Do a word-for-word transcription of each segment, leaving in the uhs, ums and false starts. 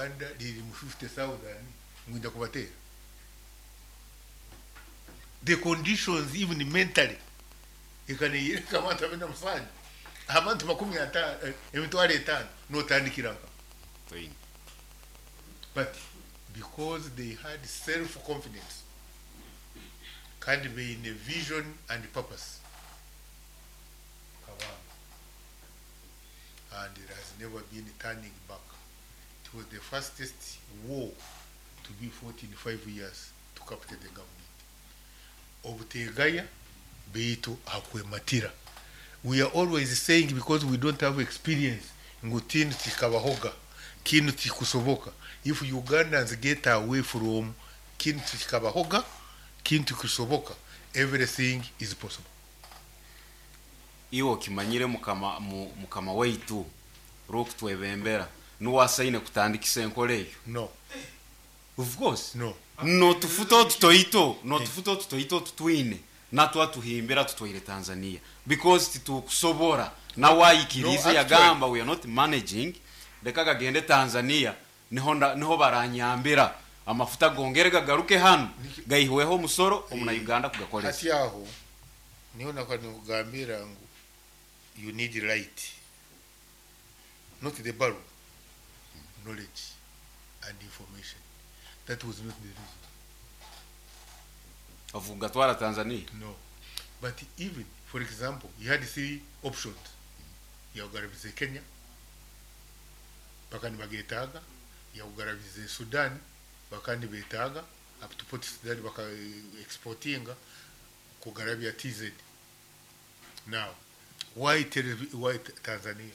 Uganda liri mu fifty thousand ngwinda kubateera. The conditions, even mentally, ekaneyereka abantu abena musanju, abantu makumi atano, eh, emitwaro etaano, notandikira nka Toyine. But because they had self confidence kandi beine vision and purpose kabanga, and it has never been turning back. It was the fastest war to be fought in five years to capture the government. Obutegaya beitu akwematira. We are always saying, because we don't have experience, ngu tinu tikabahoga, kinu tikusoboka. If Ugandans get away from kinu tikabahoga, kinu tikusoboka, everything is possible. Iwe okimanyire mukama mu- mukama waitu rwokutwebembera nuwasaine kutandikisa enkola eyo? No. Of course. No. Notufuta otutoito, notufuta otutoito tutwine natwatuhimbira tutwaire Tanzania because titukusobora nawayikirize. No, actually- Yagamba, "We are not managing, leka gagende Tanzania, niho nda- niho baranyambira amafuta gongere gagaruke hano gaihweho omusoro omuna Uganda kugakolesa." Hati aho niho nakwa nikugambira ngu you need light, not the bulb, knowledge and information. That was not the reason. Avuga twara Tanzania. No, but even, for example, you had three options: yagarabize Kenya bakandi bagetaaga, yagarabize Sudan bakandi betaaga up to Port Sudan baka exportinga kugarabya T Z. Now why, Tel- why Tanzania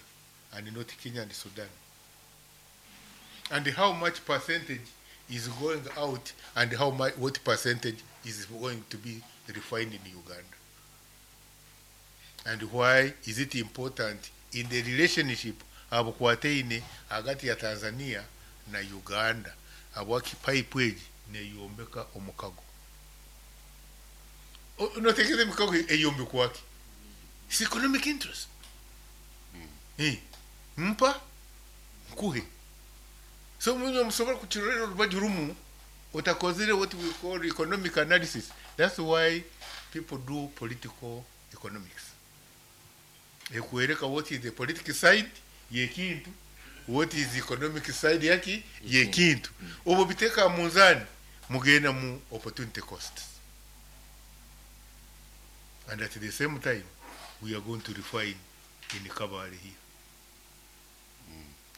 and not Kenya and Sudan? And how much percentage is going out and how much, what percentage is going to be refined in Uganda? And why is it important in the relationship abukwataine hagati ya Tanzania na Uganda? Habwaki pipe egi neyombeka omukago? O- notekereza emikago eyombekwaki? It's economic interest. Eh, mpa nkuhe. So munyo musobola kukirorera orubaju rumu otakozire what we call economic analysis. That's why people do political economics, ekwereka what is the political side yekintu, what is the economic side yaki yekintu. Obwo biteeka mu nzani, mugenda mu opportunity costs. And at the same time we are going to refine in Kabale here.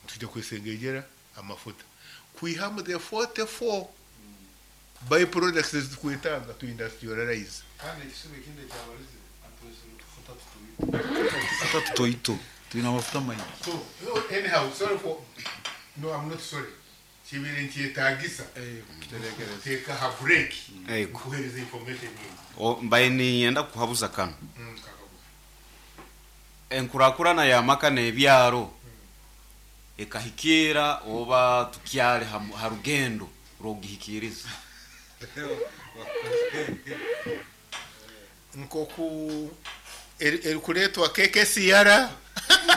Tujja kwesengejera amafuta kwihamu the forty-four byproducts ezikwetaaga to industrialize. Kandi ekisuba ekindi ekyabalize atwesere otufuta tutoito, otufuta tutoito twine amafuta maingi. So no, anyhow, sorry for, no, I'm not sorry. Kibiri nkyetagisa kuterekereza. Teeka ha break Ego. kuhereza information nyingi. O- mbaye niyenda kuhabuza kano. Mm, kakabu. Enkurakurana y'amaka n'ebyaro ekahikira oba tukyali ha ha rugendo rw'okugihikiriza? Nkoku eri- erikuleetwa K K C R.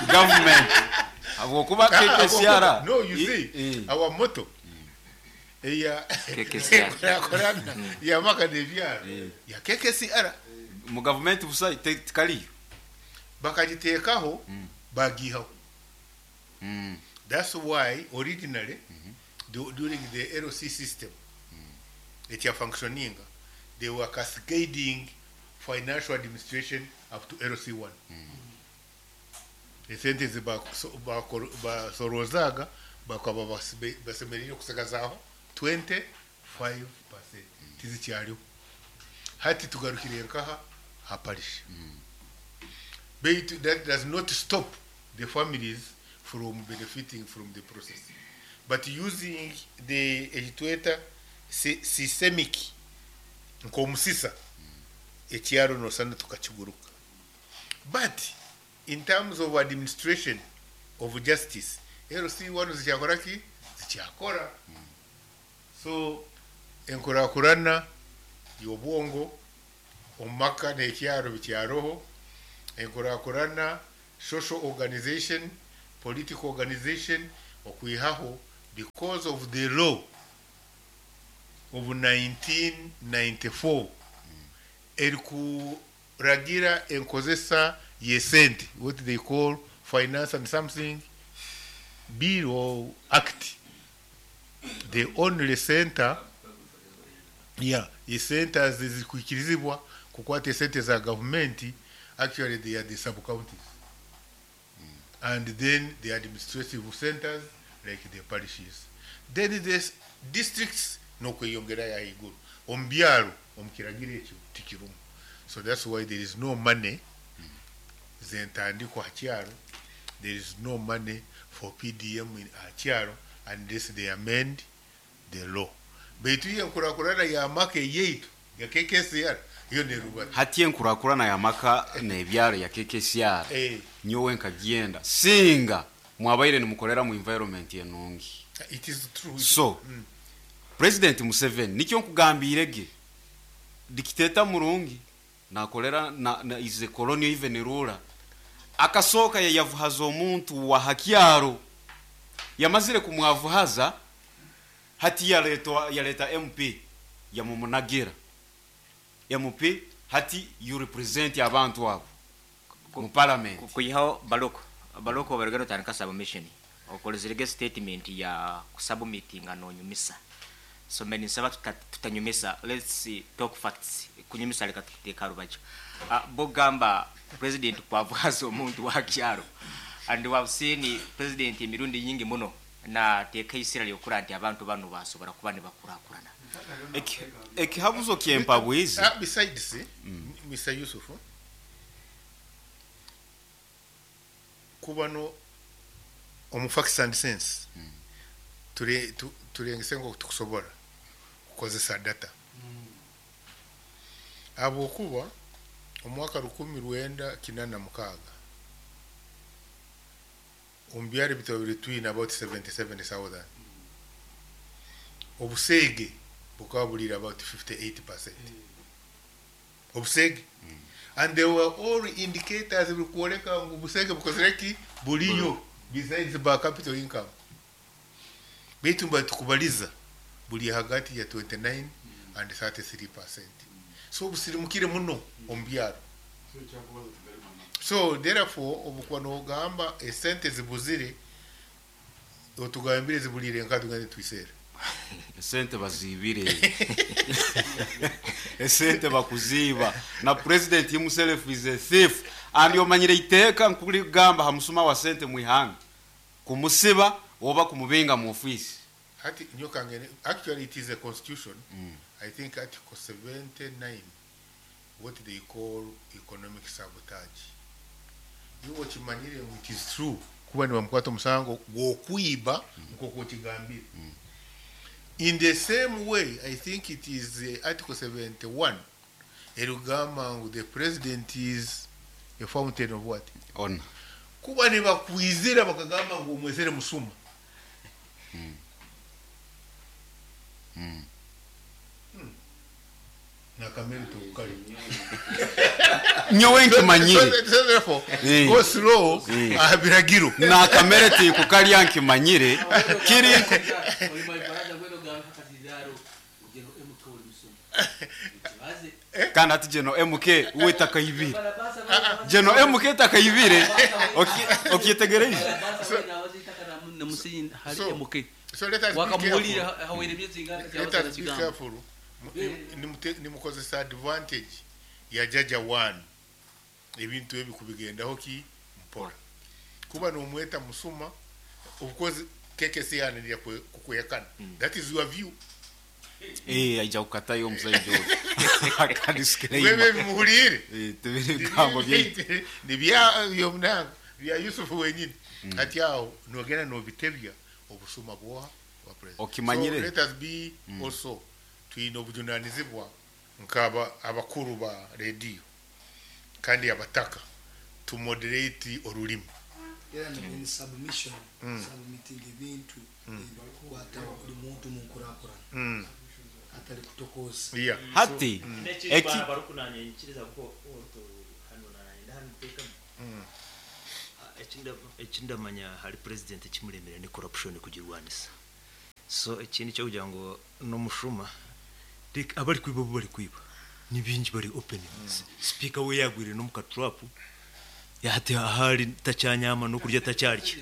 Government, habwokuba K K C R No, you see, I- our motto eya K K C R. enkurakurana y'amaka n'ebyaro Eh. ya K K C R. Mu gavumenti busa te- tikaliyo. Bakagiteekaho, bagihaho. Mm. That's why originally, du- during the L C system ekyafunctioninga, they were cascading financial administration up to L C one. Esente zebasorozaaga bakaba basibe- basemereire kusigazaaho twenty-five percent. Tizikyaliho hati, tugarukire nkaha haparisha. Baitu that does not stop the families from benefiting from the process, but using the ekitweta si- systemic nk'omusisa ekyaro nosana tukakiguruka. But in terms of administration of justice, L C wano zikyakora ki? Zikyakora. So enkurakurana y'obwongo omumaka n'ekyaro bikyaroho. Enkurakurana, social organization, political organization, okwihaho Because of the law of nineteen ninety-four erikuragira enkozesa y'esente, what they call finance and something bill or act, the only center, yeah, esente zikwikirizibwa kukwata esente za gavumenti, actually they are the sub counties and then the administrative centers like the parishes, then the districts nokweyongerayo ahaiguru omu byaro omu kiragiro ekyo tikirumu. So that's why there is no money zentandikwa ha kyaro, there is no money for P D M in ha kyaro unless they amend the law. Baitu enkurakurana y'amaka eyaitu ya K K C R yo nerubata hati enkurakurana y'amaka n'ebyaro ya K K C R eh nyowe nkagyenda singa mwabaire nimukorera mu environment enungi. It is true. So mm. President Museveni nikyo nkugambirege dictator murungi nakolera na, na is a colonial even ruler akasoka yayavuhaza omuntu wa hakyaro yamazire kumwavuhaza hati yaletwa yaleta M P yamumunagira M P hati you represent abantu abo mu parliament kuyihaho baloko baloko barugero tandika submission okolezerege statement ya kusubmittinga nonyumisa. So many nsaba tutanyumisa, let's talk facts. Kunyumisa leka tuteka rubajo. Uh, bogamba president kwavuhaza omuntu wa kyaro and we have seen president emirundi nyingi muno na teka isira lyokura nti abantu bano basobora kuba ne bakurakurana. Ekihabuzo kyempabwizi. Uh, besides mm. Mister Yusuf kubano omu facts and sense mm. ture tu, turengese ngo tukusobora kukozesa data mm. Abokuba omwaka rukumi rwenda kinana mukaga ombyari bitobiri twina about seventy-seven thousand mm. Obusege bukabulira about fifty-eight percent mm. Obusege mm. And they were all indicators bikuoleka ngu busege bukozereki buliyo besides by capital income. Baitu mba tukubaliza buli hagati ya twenty-nine mm. and thirty-three percent. So busirimukire muno ombyaro. So therefore obukuba nogamba esente zibuzire otugambire zibulire nka tugende twisere. Esente bazibire. Esente bakuziba na president himself is a thief and yomanyire iteka nkuligamba hamusuma wa sente mwihanga kumusiba oba kumubinga mu office. Hati nyoka ngene actually it is a constitution mm. I think article seventy-nine what they call economic sabotage. You okimanyire it is true kuba ni bamukwata omusango gw'okwiba nk'oku okigambire. In the same way, I think it is uh, article seventy-one erugamba the president is a fountain of what? Honor. Kuba ni bakwizira bakagamba ngo omwezere musuma. Mm. Mm. Mm. Nakamere tukali. Nyowe nkimanyire. So therefore, go slow abiragiro. Nakamere tikukalya nkimanyire. Kiri kandi ati jeno M K uwe takayibire. Jeno M K takayibire. Okyetegereje. So let us be careful. Let us be careful. Nimukozesa advantage ya jaja one. Ebintu ebi kubigendaho ki mpora. Kuba nomweta musuma of course K K C ananira kukuyakana. That is your view. Eh aija kukatayo omusajja oyo. Akadisclaimer. Wewe muhulire. Eh tubiri bigambo bye. Ni bya yomnango bya Yusuf wenyini. Ati aho nogena nobitebya obusuma bwoha wa president. Okimanyire. So let us be mm. also twine obujunanizibwa nkaba abakuru ba radio kandi abataka to moderate orulimi. Era ni submission mm. submitting ebintu ebikwata buli muntu mu nkurakurana mm. atali kutokoza. Yeah. Hati mm. eki barukunanye nkiriza ko orto hano na hano teka mm. ekinda ekindamanya hari president kimulemera ni corruption kugirwanisa. So ekindi kyokugira ngu n'omushuma reka abari kwiba bo bari kwiba ni bingi, bari open. Speaker we yagwire no mu katrap, yahati ahari tacyanyama no kurya tacyarya.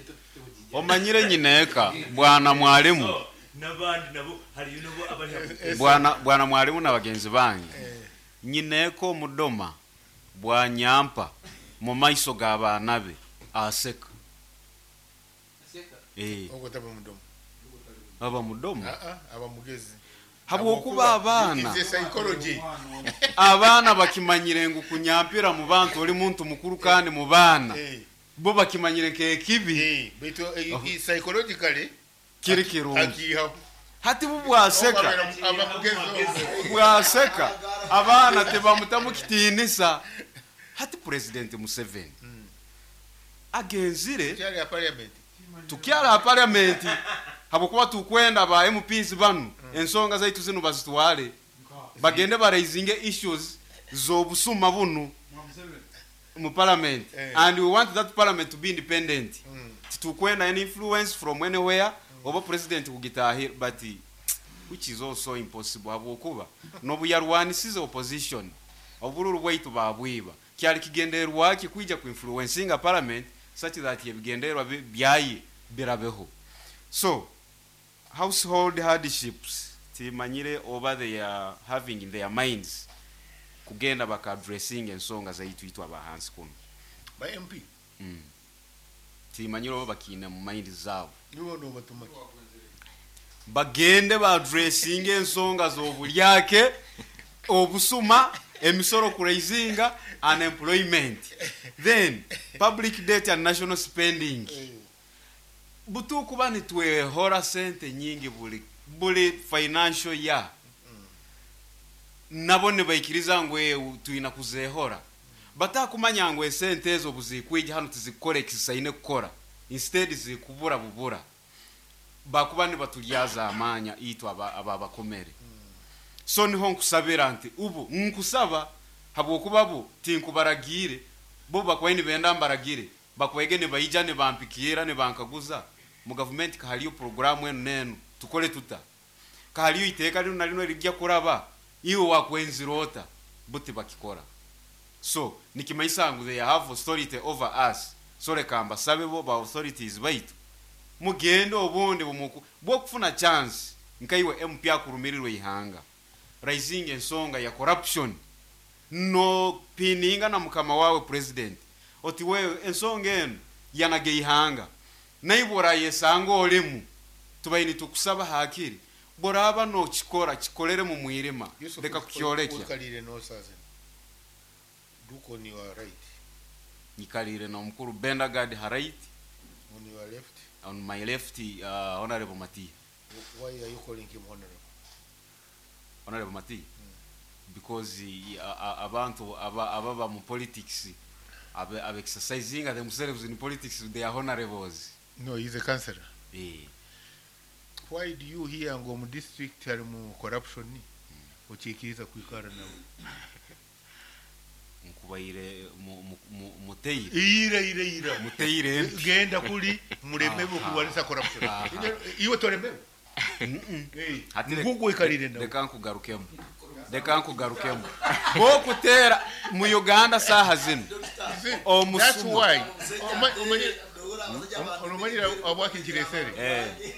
Omanyire nyineka bwana mwalimu. N'abandi nabo hariyo nabo abari hamwe. Bwana bwana mwalimu na bagenzi bange, nyineka omudoma bwanyampa mu maiso g'abaana be aseka. Eh, Ogwo taba mudomo. Aba mudomo. Ah, ah, aba mugezi. Habwokuba abaana It's a psychology. Abaana bakimanyire ngu kunyampira mu bantu oli muntu mukuru kandi mu baana Eh, bo bakimanyire nk'ekibi. Eh, baitu eh, eh, psychologically kiri kirungi. Akihaho. Hati bu bwaseka. Aba mugezi ogwo. Bwaseka abaana tebamutamu kitiinisa. Hati President Museveni agenzire Kyali ya parliament. Tukyala parliament habwokuba tukwenda ba M Ps banu ensonga zaitu zino bazitwale, bagende baraisinge issues z'obusuma bunu mu parliament. Eh. And we want that parliament to be independent. Mm. Titukwenda any influence from anywhere oba president kugitahira, but which is also impossible habwokuba nobu yarwanisize opposition, obululu bwaitu babwiba. Kyali kigendererwaki kwija kuinfluencinga parliament such that ebigendererwa bi- byaye birabeho? So household hardships timanyire oba they are having in their minds kugenda baka addressing ensonga zaitu itwe abahansi kuno. Ba M P. mm. timanyire oba bakiine mu mind zaabo. Nibo nobatuma ki? Bagende baaddressinga ensonga z'obulyake, obusuma, emisolo kuraisinga, unemployment, then public debt and national spending. Butukuba nitwehora sente nyingi buli buli financial year, nabo nibaikiriza ngu eh, twina kuzehora. Batakumanya ngu esente ezo buzikwija hano tizikukora ekisaine kukora, instead zikubura bubura. Bakuba nibatulyaza amanya itwe aba ababakomere. So niho nkusabira nti ubu nkusaba habwokuba bo tinkubaragire, bo bakubaye nibenda mbaragire, bakwege nibaija nibampikira nibankaguza mu gavumenti kahaliyo programu enu nenu tukole tuta, kahaliyo iteeka lino na lino lijja kuraba, iwe wakwenzira ota? Buti bakikora. So nikimanyisa ngu they have authority over us. So leka mbasabe bo ba authorities baitu mugende obundi bumuku bwokufuna chance nkaiwe M P akurumirirwe ihanga, raising ensonga ya corruption, no pininga na mukama wawe president oti wewe ensonga eno yanage ihanga naibora yesanga olimu tubaini tukusaba hakiri boraba nokikora kikolere mu mwirima. Yusuf, leka kukyolekya. Uikalire n'osaze. Look on your right. Nyikalire na omukuru Bendagard ha right. On your left. On my left, uh, Honorable Mati. Why are you calling him honorable? Honorable Mati because uh, uh, abantu aba ababa mu politics abe, abe exercising themselves in politics, they are honorables. No, he's a councillor. Eh. Why do you hear ngo mu district hari mu corruption okikiriza kwikara nawe? Nkubaire mu- mu- mu- muteire. Iyira ira ira. Muteire empi. Genda kuli mulemewe Aha. okulwanisa corruption. Aha. Iwe tolemewe. Eh, Ati reka- ngugu ikalire nawe. Reka nkugarukemu, reka nkugarukemu bokutera mu Uganda saha zino. See, Omusuma. that's why Oma- omanyire omanyire abwakinkiresere Eh,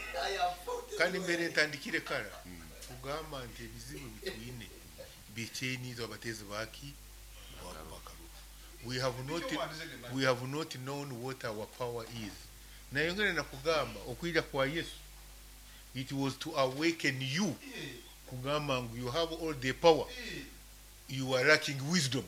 kandi mbere ntandikire kara kugamba nti ebizibu bitwine bikyenizo abatezi baki bakalulu. we have not we have not known what our power is. Nayongere nakugamba okwija kwa Yesu, it was to awaken you kugamba ngu you have all the power, you are lacking wisdom,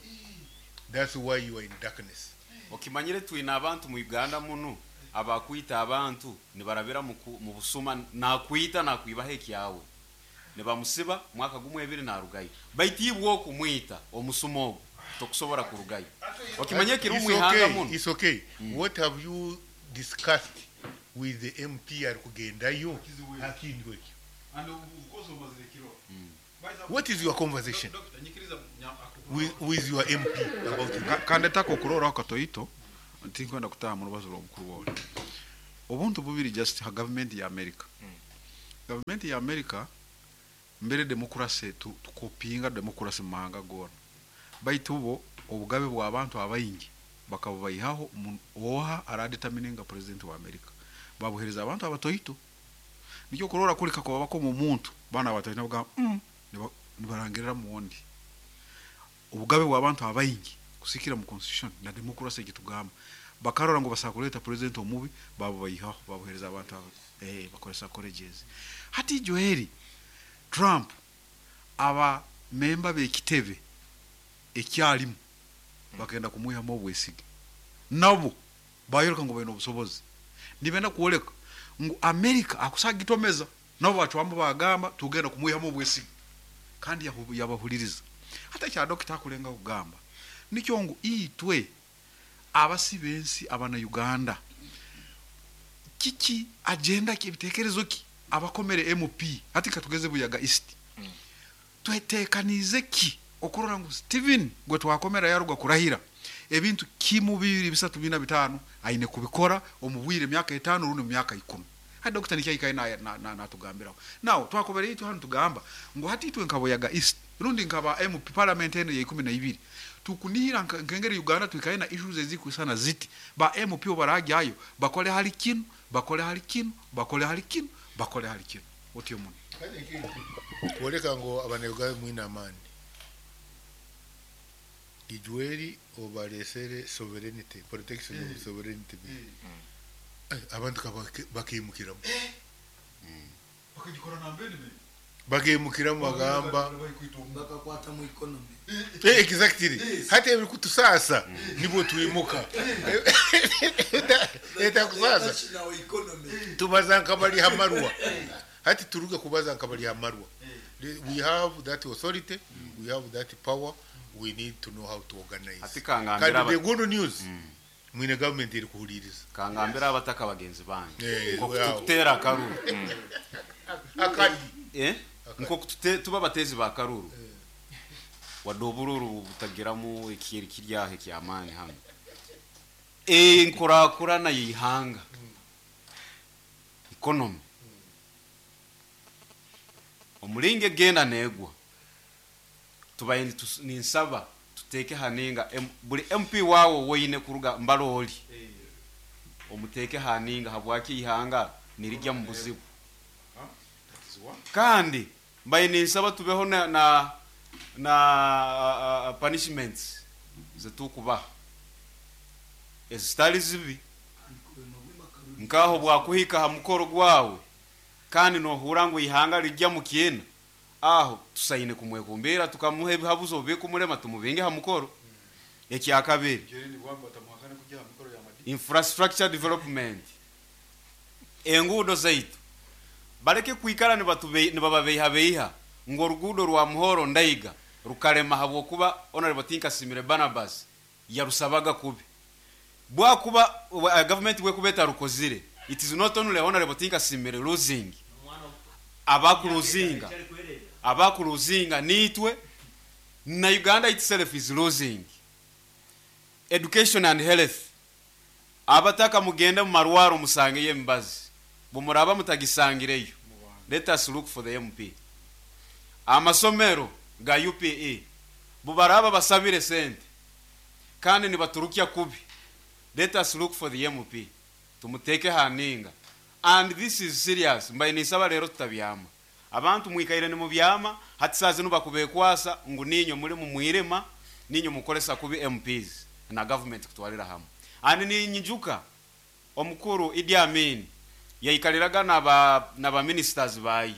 that's why you are in darkness. Okimanyire twine abantu mu Uganda muno abakwita abantu nibarabira mu ku- mu busuma, nakwita nakwibaho ekyawe nibamusiba mwaka gumwe ebiri narugayo, baitu ibwe okumwita omusuma ogwo tokusobora kurugayo. Okimanye kiri It's mu ihanga okay, muno. it's okay. What have you discussed with the M P ari kugendayo akintu ekyo? What is your conversation with, with your M P about it? Kandetako okuroraho katoito tinkwenda kutaha mu rubazo rw'omukuru wawe obuntu bubiri just ha gavumenti ya America. Gavumenti ya America mbere demokrasi tu, tukopinga demokrasi mu mahanga gona, baitu bo obugabe bw'abantu abaingi bakabubaihaho. Mu- oha aradetermininga president wa America? Babuhereza abantu abatoito. Nikyo kurora kuli kakuba bakoma omuntu, bana abatoito nabagamba mm, niba- nibarangirira muwondi. Obugabe bw'abantu abaingi kusikira mu constitution na demokrasi ekitugamba, bakarora ngo basakuleta kuleta president omubi, babubayihaho, babuhereza abantu abo eh bakolesa colleges. Hati Joeli, Trump aba memba bekitebe ekyalimu bakenda kumwihamu obwesige, nabo bayoleka ngo baine obusobozi, nibenda kwoleka ngu America akusagitomeza, nabo bacwamu bagamba tugenda kumwihamu obwesige, kandi yahu- yabahuliriza. Hata kya dokita akulenga kugamba nikyo ngu itwe abasi bensi abana Uganda, kiki agenda ki, ebitekerezo ki abakomere M P? Hati katugeze Buyaga East, twetekanize ki okurora ngu Steven gwe twakomera yaruga kurahira, ebintu kimu, bibiri, bisatu, bina, bitano aine kubikora omu bwire emyaka etano rundi mu myaka ikumi? Hati dokita nikyo ayikaye natugambiraho. Now twakobera itwe hano tugamba ngu hati itwe nka Buyaga East rundi nkaba M P parliament eno ya ikumi na ibiri, tukunihira nka- nkengeri Uganda twikaye na issues ezikwisana ziti, ba M P barajyayo bakole hali kinu, bakole hali kinu, bakole hali kinu, bakole hali kinu, otyo muno. Kwoleka ngu abanayuganda mwine amaani, Ijweri obalesere sovereignty, protection of sovereignty bill. Eh, abantu ka bakimukiramu, bakimukiramu bagamba bakakwata mu economy. Eh, exactly, hati ebiri kutusasa nibwo twimuka eta kusasa. National economy. Tubaza nkabali hamarwa, hati turuge kubaza nkabali hamarwa. We have that authority, we have that power, we need to know how to organize. Ati kangambira Kandi aba- the good news, mwine government iri kuhuliriza. Kangambira abataka bagenzi bange, Eh, nko wow. kututera akaruru, Akadi. eh nko kutute tuba batezi ba karuru, wadde obururu butagiramu ekiri kiryaho ekyamaani hano, enkurakurana yeihanga, economy omulinga egenda negwa, tubaye nitus- ninsaba tuteeke haninga M- buli M P wawe woine kuruga mbaloli omuteeke haninga, habwaki ihanga nirijya mu buzibu. Kandi mbaye ninsaba tubeho na na, na uh, uh, punishments zetukubaha ezitali zibi, nkaho bwakuhika ha mukoro gwawe kandi nohura ngu ihanga rijya mu kiena, aho tusaine kumwekumbira, tukamuha ebihabuzo bikumulema, tumubinge ha mukoro. Ekyakabiri, infrastructure development, enguudo zaitu baleke kwikara nibatube- nibababeihabeiha ngu oruguudo rwa Muhoro Ndaiga rukarema habwokuba Honorable Tinkasimire Barnabas yarusabaga kubi. Bwakuba uh, government bwekuba etarukozire, it is not only Honorable Tinkasimire losing, abakuruzinga abakuruzinga nitwe na Uganda itself is losing. Education and health, abataka mugende mu marwaro musangeyo emibazi, bumuraba mutagisangireyo, let us look for the M P. Amasomero ga U P E, bubaraba basabire sente kandi nibaturukya kubi, let us look for the M P, tumuteke haninga. And this is serious, mbaye nisaba rero tutabyama. Abantu mwikaire ni mubyama, hati saa zinu bakubekwasa ngu ninyo muri mu mwirema, ninyo mukolesa kubi M Ps na government kutwalira hamwe. And ninyijuka omukuru Idi Amin yaikaliraga naba naba ministers bayi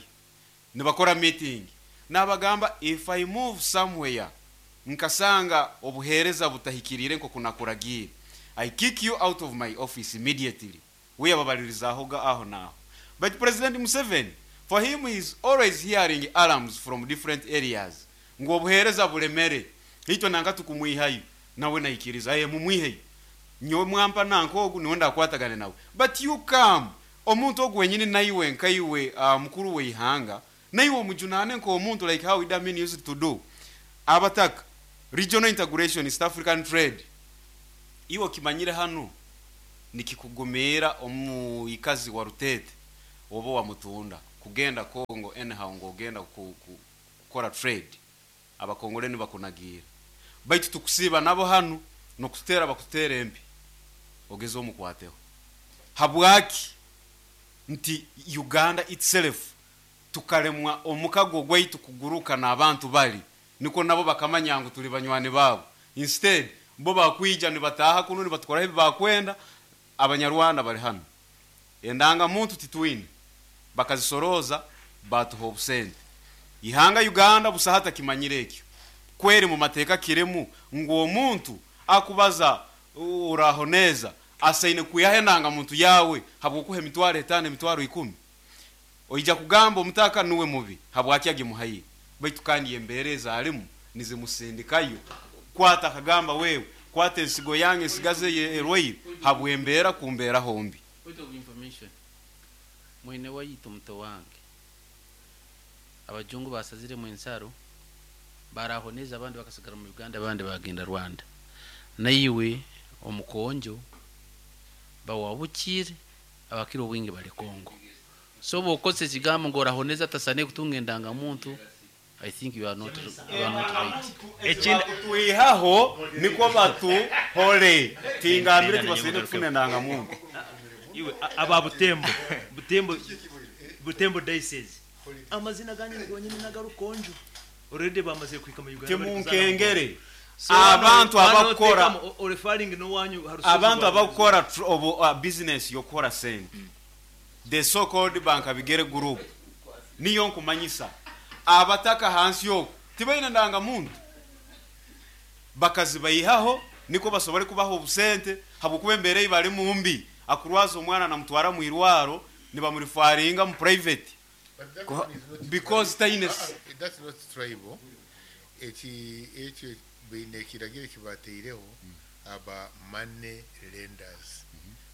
nibakora meeting, nabagamba, "If I move somewhere nkasanga obuhereza butahikirire nko kunakuragira, I kick you out of my office immediately." We yababalirizahoga aho naho. But President Museveni, for him, he is always hearing alarms from different areas ngo obuhereza bulemere, itwe nanka tukumwihayo, nawe naikiriza, "Aye, mumwiheyo, nyowe mwampa nanka ogu niwe ndakwatagane nawe." But you come omuntu ogu wenyini, naiwe nkaiwe uh, mukuru weihanga, naiwe omujunane nk'omuntu, like how Idi Amin used to do. Abataka, regional integration, East African trade, iwe kimanyire hano nikikugumira omuikazi wa Rutete oba wa Mutunda. Kugenda Congo anyhow ng'ogenda ku, ku, kukora trade, abakongole nibakunagiira. Baitu tukusiiba nabo hanu nokutera bakutera empi ogeze omukwateho. Habwaki nti Uganda itself tukalemwa omukago gwaitu kuguruka n'abantu bali niko nabo bakamanya ngu tuli banywani baabo. Instead bo bakwija nibataha kuno nibatukoraho ebi bakwenda. Abanyarwanda bali hano, endanga muntu titwine, bakazisoroza batuha obusente. Ihanga Uganda busaha takimanyire ekyo kweri mu mateeka kirimu ngu omuntu akubaza uraho neza asaine kuyaha enanga muntu yawe habwokuha emitwaro etaano, emitwaro ikumi. Oija kugamba omutaka nuwe mubi habwaki agimuhaire, baitu kandi embeera ezalimu nizimusindikayo kwata akagamba wewe kwata ensigo yange ensigaze erwaire habwembeera kumbeera hombi. Point of information, mwene waitu muto wange abajungu basazire mu ensaro barahoneza, abandi bakasigara mu Uganda, abandi bagenda Rwanda. Naiwe omukonjo bawabukire abakiri obwingi bali Kongo. So bokose ekigambo ngo orahoneza tasane kutunga endangamuntu, I think you are not, you are not right. Ekindi twihaho niko batuhole tingambire tibasine kufuna endangamuntu. Iwe a- aba Butembo, Butembo, Butembo diocese, amazina ganyu gonyine nagarukonjo already bamaze kwika mu Uganda bari kuzana. Timunkengere. So hano- Abantu hano abakora tekamo, o- o- referring n'owanyu harusozi abantu rwa- abakora tr- obu uh, business yokukora sente, the so called bank abigere group, niyo nkumanyisa abataka hansi yoku tibaine ndangamuntu, bakazibayihaho niko basobole kubaha obusente habwokuba embeera ei bali mumbi. Akurwaza omwana namutwara mu irwaro nibamurifaringa mu private But that Ko- one is not because tribal. taine Ah, ah, that's not tribal. Eki ekyo baine ekiragiro ekibateireho aba money lenders,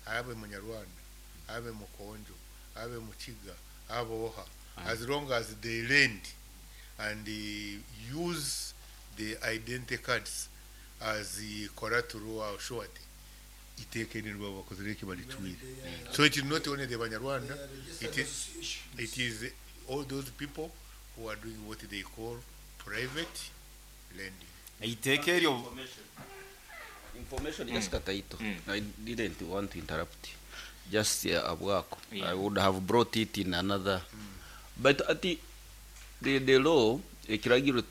abe munyarwanda, abe mukonjo, abe mukiga, abe oha, as long as they lend and uh, use the identity cards as the collateral or surety, iteeka nirwo bakozire eki baricwire. So it is not only the Banyarwanda, it is, it is all those people who are doing what they call private lending. Iteeka eryo. Information, just kataito. I didn't want to interrupt, just uh, abwako. Yeah. I would have brought it in another, but ati the, the law, ekiragiro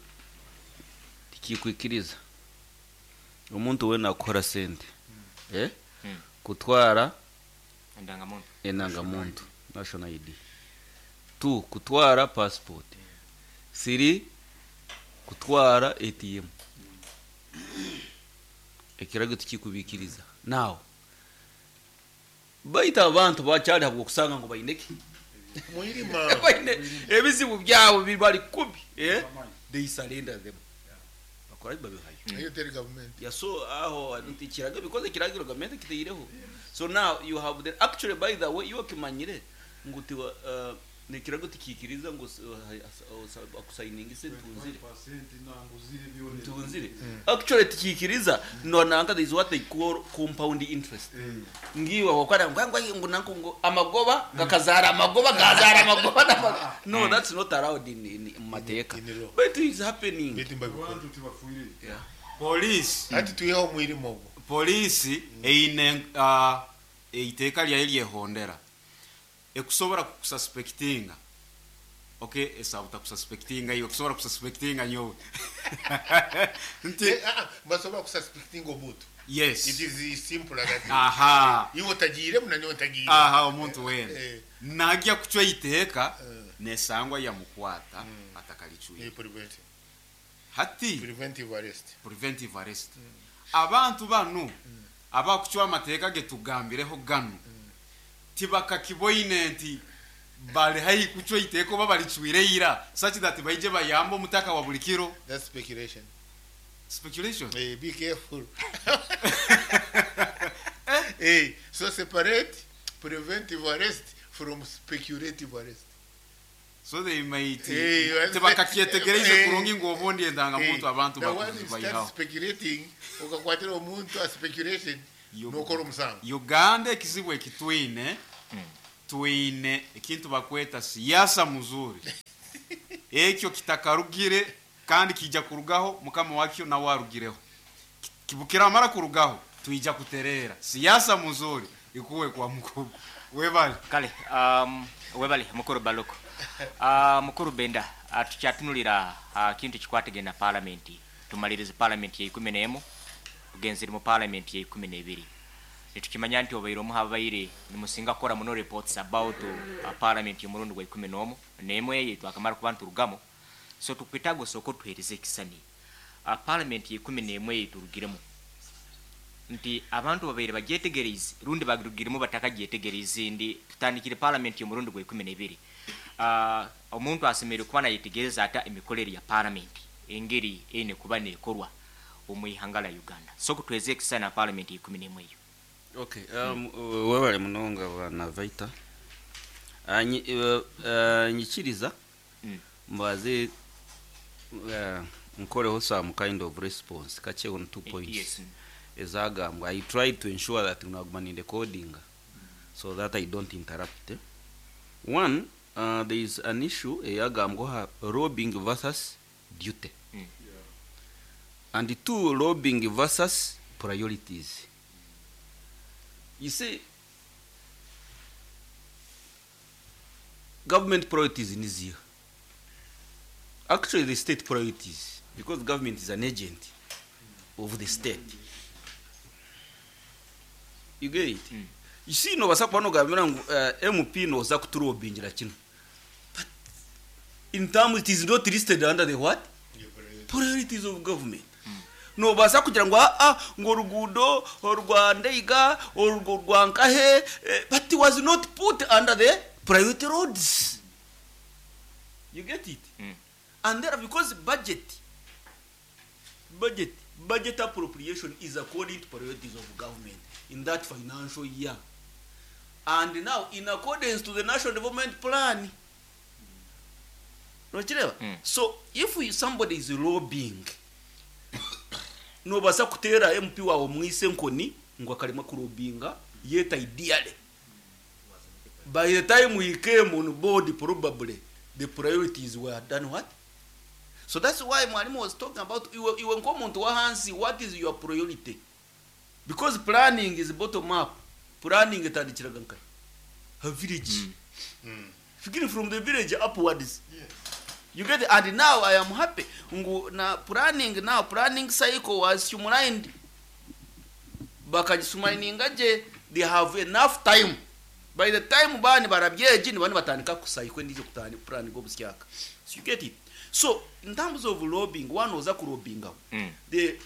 tikikwikiriza omuntu wena akukora sente eh Mm. kutwara Endangamuntu. Enangamuntu, national I D, two, kutwara passport, three, kutwara A T M. Ekiragiro tikikubikiriza. Now baita abantu bakyali habwo okusanga ngu baineki Mwirima. baine ebizibu byabo bibali kubi, eh? They surrender them, bakora babihayo. Iyo teri government. Yeah, so aho nti kiragiro, because ekiragiro gavumenti kiteireho. So now you have the actually, by the way, iyo kimanyire ngu tiwa uh, nekirago tikikiriza ngu akusayininga ise ntunzire ntunzire, actually tikikiriza. No nanka there is what they call compound interest. Ngiwe wakora ngwa ngo nanko ngo amagoba gakazara amagoba gazara amagoba n'amagoba. No, that's not allowed in in mu mateka, In law. but it is happening. Beti mbabikora. Yeah. Polisi. Ati tuyeho mwirima ogwo. Polisi eine uh, eiteeka lyayo lyehondera ekusobola kukususpectinga. Okay, esaba takususpectinga iwe, kusobola kususpectinga nyowe nti Eh, ah, ah, basobola kususpectinga omuntu. Yes. It is simple like that. Aha. Iwe otagiiremu nanyowe ntagiire. Aha, omuntu wena Eh. najya kucwa iteeka Eh. nesangwa yamukwata atakalicwire. Eh, preventive. Hati Preventive arrest. Preventive arrest. Abantu banu abakucwa amateeka getugambireho ganu tibakakiboine nti bali haihi kucwa iteeka oba balicwire ira such that baije bayambe omutaka wa buli kiro. That's speculation. Speculation. Eh, be careful. Eh, so separate preventive arrest from speculative arrest. So they might Eh, you are- tibakakyetegereize Eh, kurungi ngu obundi endangamuntu Eh, abantu the one you start bakuzibayihaho. speculating okakwatira omuntu a speculation Yo- nokora omusango. Uganda ekizibu ekitwine Twine ekintu bakweta siasa muzuri. Ekyo kitakarugire kandi kija kurugaho mukama wakyo nawe arugireho. Kibukira mara kurugaho tuija kuterera. Siasa muzuri ikuwe kwa mkubwa. Webale. Kale um, webale mukuru Baluku. Uh, mukuru Benda uh, tukyatunulira uh, kintu kikwatagana parliament. Tumalirize parliament ya ikumi n'emu tugenzere mu parliament ya ikumi n'ebiri. Nitukimanya nti obaire omu habaire nimusinga kukora muno reports about uh, parliament y'omurundi gwa ikumi n'omu n'emwe eyo twakamara kuba nturugamo. So tukwetaaga osooke otuheereze ekisani. Uh, parliament ya ikumi n'emwe eyo turugiremu nti abantu babaire bagyetegereze rundi bagirugiremu batakagyetegereze ndi tutandikire parliament y'omurundi gwa ikumi n'ebiri. Uh, omuntu asemereire kuba nayetegereza ata emikorere ya parliament engeri eine kuba nekorwa omu ihanga lya Uganda. So kutweze ekisani na parliament ya ikumi n'emwe eyo. Okay, um, webale munonga bwana Vaita. Uh, nyi, uh, uh, nyikiriza Mm. mbaze uh, nkoreho some kind of response kache on two points. Yes. Ezagambwa I try to ensure that naguma ni recording so that I don't interrupt. Eh? One, uh, there is an issue eyagambwa lobbying versus duty. Mm. And two, lobbying versus priorities. You see, government priorities in here. Actually, the state priorities, because government is an agent of the state. You get it? Mm. You see, no basa kubano gambira ngu uh, M P no za kuturobingira kino. But in terms it is not listed under the what? Priorities of government. No basa kugira ngo ah ngo rugudo rwa Ndeiga urwo rwa Nkahe, eh, but it was not put under the priority roads. You get it? Mm. And there because budget budget budget appropriation is according to priorities of government in that financial year. And now in accordance to the National Development Plan. Mm. So if we, somebody is lobbying, no basa kutera M P wawe mwise nkoni ngo akarima kurobinga yet ideally by the time we came on board probably the priorities were done what? So that's why Mwalimu was talking about iwe iwe nkomuntu wa hansi, what is your priority? Because planning is bottom up. Planning etandikiraga nkai a village. Mm. Beginning from the village upwards. Yes. You get it? And now I am happy. Ngu na planning now planning cycle was streamlined. Bakajisumayininga je they have enough time. By the time bani barabyeji ni bani batandika kusayikwe ndizo kutani plan go busyaka. So you get it. So in terms of lobbying, one oza kulobinga. Mm. The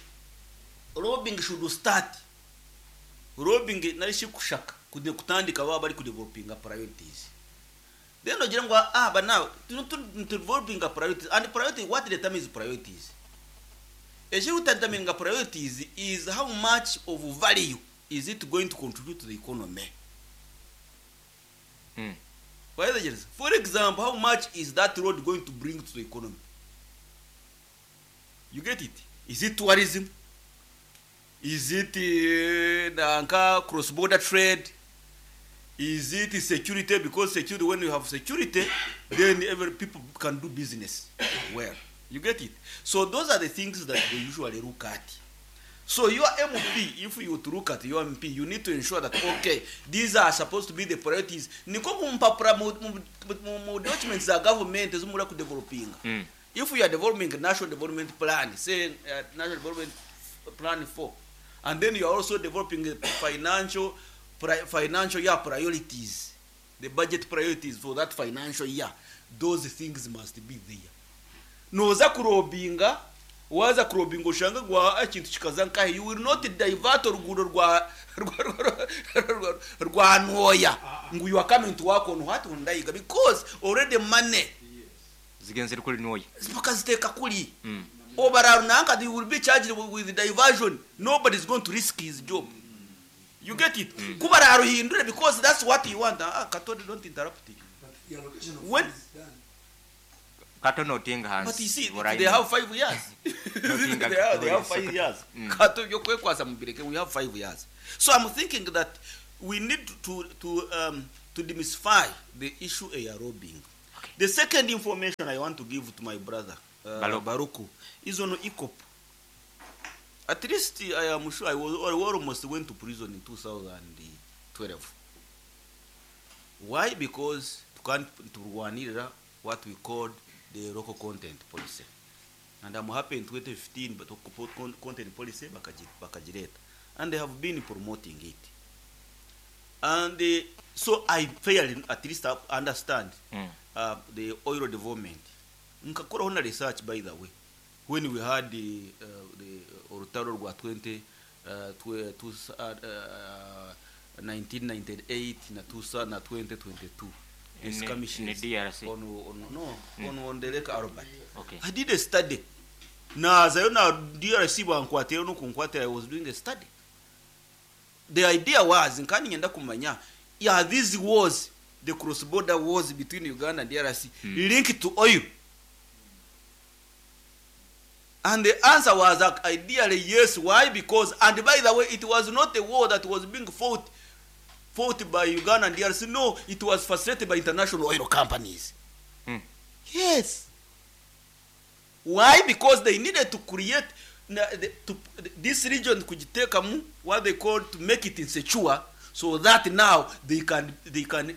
lobbying should start. Lobbying narishi kushaka kude kutandika baba bari kudevelopinga priorities. Then ogira ngo ah but now to to developing priorities and priority what determines priorities. Ejo determining priorities is how much of value is it going to contribute to the economy. Mm. For example, how much is that road going to bring to the economy? You get it? Is it tourism? Is it uh, cross-border trade? Is it security? Because security, when you have security, then every people can do business well. You get it? So those are the things that they usually look at. So your M P, if you to look at your M P, you need to ensure that, okay, these are supposed to be the priorities. Niko mumpapura mu documents za government ezimura ku developing. Mm. If we are developing a national development plan, say uh, national development plan four, and then you are also developing financial pri financial year priorities, the budget priorities for that financial year, those things must be there. Noza kurobinga, waza kurobinga ushanga gwa ekintu kikaza nkahe, you will not divert orugudo rwa rwa ntoya ngo you are coming to work on what on Ndaiga, because already money zigenzere kuri ntoya bakaziteka kuri mm. Obararunanka, they will be charged with diversion. Nobody is going to risk his job. You get it? Mm. Kubararuhindure, because that's what you want. Ah, Kato, don't interrupt it. But the allocation of when funds is done. Kato notinga hands. But you see, they have five years. they, have, they have five years. Mm. Kato yokwekwasa mubireke, we have five years. So I'm thinking that we need to to um, to demystify the issue eya lobbying. Okay. The second information I want to give to my brother uh, Baruku. Baruku is on EACOP. At least I am sure I was I almost went to prison in twenty twelve. Why? Because turwanirira what we called the local content policy. And I'm happy in twenty fifteen, but local content policy bakaji- bakagireta. And they have been promoting it. And uh, so I fairly at least understand Mm. uh, the oil development. Nkakoraho na research, by the way, when we had the, uh, the orutaro rwa twenty uh, twe, two, uh, uh, nineteen ninety-eight na two, na twenty twenty-two, the In- skirmishes in the D R C. on, on, no, on, on the Lake Albert. Okay. I did a study, nazayo na D R C bankwatira no kunkwatira. I was doing a study. The idea was nkani ngenda kumanya, yeah, these wars, the cross border wars between Uganda and D R C, mm. linked to oil? And the answer was uh, ideally yes. Why? Because, and by the way, it was not a war that was being fought fought by Uganda and D R C. No, it was facilitated by international oil companies. Mm. Yes. Why? Because they needed to create na- the, to, this region kugitekamu what they call to make it insecure, so that now they can they can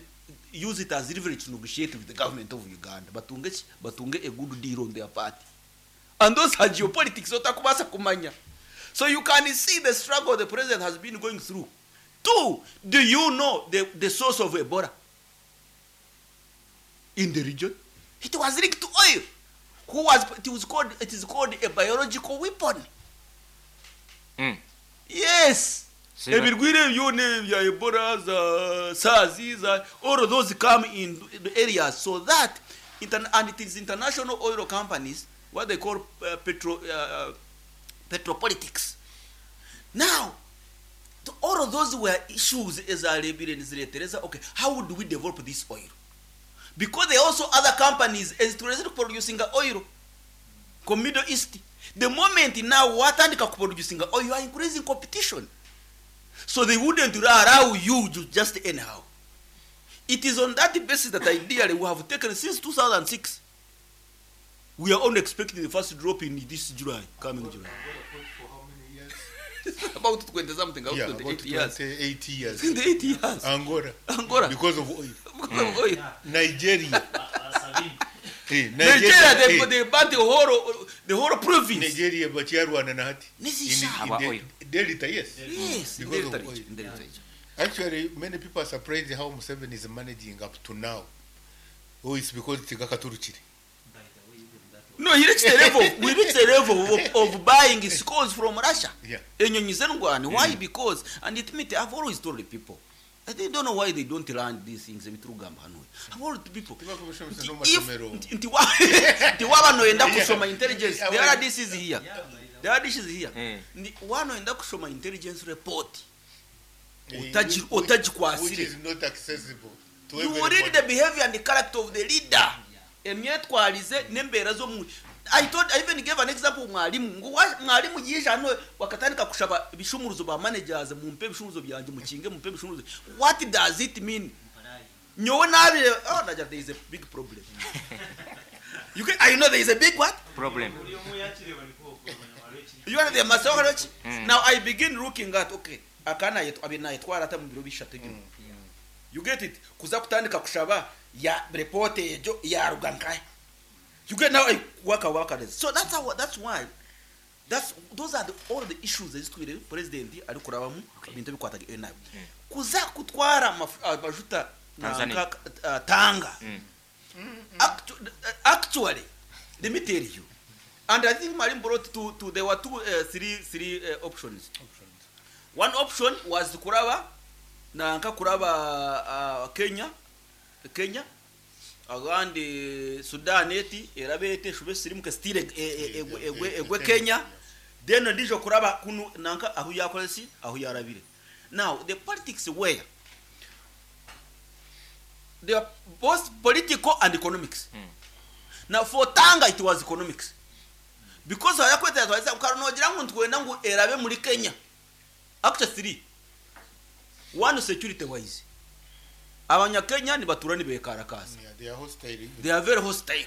use it as leverage to negotiate with the government of Uganda, batunge ki? Batunge a good deal on their part. And those are geopolitics otakubasa kumanya. So you can see the struggle the president has been going through. Two, do you know the, the source of Ebola in the region? It was linked to oil. Who was it was called it is called a biological weapon. Mm. Yes. Siba- Ebirwire byone bya Ebola, za SARS, za all of those come in the areas, so that inter, and it is international oil companies, what they call uh, petro uh, petropolitics. Now to all of those were issues ezarebire niziretereza, okay, how do we develop this oil? Because there are also other companies ezituleze producing oil ku Middle East. The moment now watandika kuproducinga oil, you are increasing competition, so they wouldn't allow you to just anyhow. It is on that basis that ideally we have taken since two thousand six. We are only expecting the first drop in this July, coming July. For how many years? About twenty something, about Yeah, twenty-eight about years. twenty-eight years. twenty-eight years. Angola. Angola. Because of oil. Because of oil. Nigeria. Eh, Nigeria, they, eh, they burnt the whole the whole province. Nigeria bakyarwana na hati. Nizisha. In- in Aba the- oil. Delta, yes. Yes, in Because Delta of oil. region, in Delta region. Actually, many people are surprised how Museveni is managing up to now. Oh, it's because tigakaturukire. No, he reached the level. We reached the level of, of buying Sukhois from Russia. Yeah. Enyonyi z'endwani. Why? Because, and it means I've always told the people. I they don't know why they don't learn these things ebiturugamba hano. I've always told people. Tibakubishomesa Nti no if masomero. nti nti wa- nti waba noyenda kusoma intelligence, Yeah. the R D C is here. The R D C is here. Mm. Ndi wanoyenda kusoma intelligence report. Eh, Utaji- which- utagikwasire. Which is not accessible to You will read everybody. the behavior and the character of the leader, emyetwarize n'embeera z'omu. I told, I even gave an example, mwalimu ngu wa- mwalimu yije hano wakatandika kushaba ibishumuruzo ba managers, mumpe ibishumuruzo byanjye, mukinge, mumpe ibishumuruzo. What does it mean? Nyowe nabire, oh, naja, there is a big problem. You can, I know there is a big what? Problem. You are the master. Now I begin looking at, okay, akana yetu abina yetwara ata mu biro bishatu bino. You get it? Kuza kutandika kushaba ya report ejo yaruga nkahe? You get? Now I work work at it. So that's how, that's why, that's those are the, all the issues ezitwire president ari kurabamu bintu bikwataga nawe kuza kutwara amaf- amajuta na Tanzania. nka- uh, Tanga. Actu- actually let me tell you, and I think Marim brought two, two there were two, uh, three three uh, options. One option was kuraba na nka kuraba uh, Kenya Kenya agandi Sudan eti erabe ete shube sirimuke stile egwe egwe egwe Kenya, then ndijo kuraba kunu nanka aho yakolesi aho yarabire. Now the politics were, they are both political and economics. Now for Tanga it was economics, because ayakweta twaiza ukaronogira ngo ntwenda ngo erabe muri Kenya. Actually three. One, security wise, Abanyakenya nibatura nibekarakaasa. Yeah, they are hostile. They are very hostile.